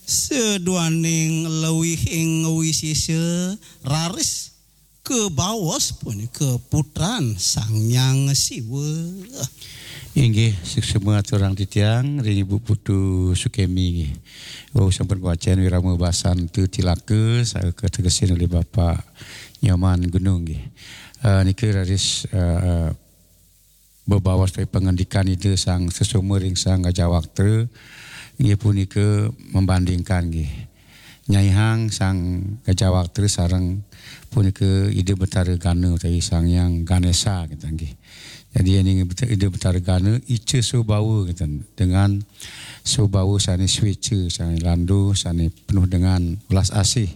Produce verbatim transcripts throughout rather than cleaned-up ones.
Seduaning lewihing wisisa raris kabaos punika putran Sang Hyang Siwa. Inggih, suksma aturang titiang ring Ibu Putu Sukemi nggih. Wau sampun wacén wirama basan tu tilaka, saha kategesin oleh Bapak Nyoman Gunung nggih. Eh, nika raris, eh, bebaos ring pangandikan Ida Sang Sesoma ring Sang Gajah Waktra, inggih punika membandingkan nggih. Nyaihang Sang Gajah Waktra sareng punika Ida Betara Gana utawi Sang Hyang Ganesa kita nggih. Jadi, yen Ida Betara Gana ica swabawa kita, dengan swabawa sane swecha, sane landu, sane penuh dengan welas asih.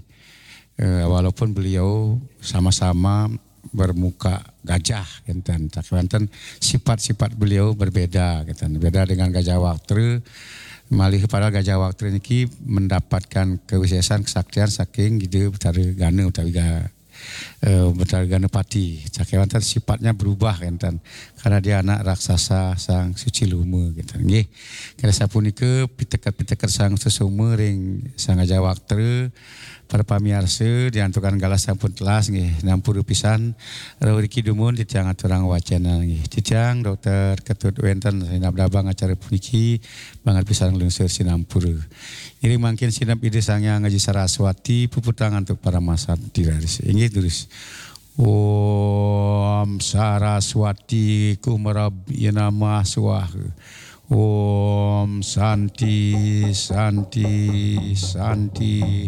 Eh, walaupun beliau sama-sama bermuka gajah, kenten, tapi wonten sifat-sifat beliau berbeda, kenten. Beda dengan Gajah Waktra, malih padahal Gajah Waktra niki mendapatkan kewisesan kesaktian saking Ida Betara Gana utawi Ga-, eh, Betara Ganapati. Saking wonten sifatnya berubah, kenten. Karena dia anak raksasa Sang Suci Luma, kenten. Nggih. Kira sapunika piteket-piteket Sang Sesoma ring Sang Gajah Waktra. Para pamiarsa, diantukan galah sampun telas nggih, nampura pisan. Rauh riki dumun titiang aturang wacénan nggih. Titiang Dokter Ketut Wénten sinab damang acara puniki, banget pisan nglungsur sinampura. Ngiring mangkin sineb Ida Sang Hyang Aji Saraswati, puputang antuk paramasanti raris. Inggih, durus. Om Saraswati Kumarabhi Namah Swaha. Om Santi, Santi, Santi.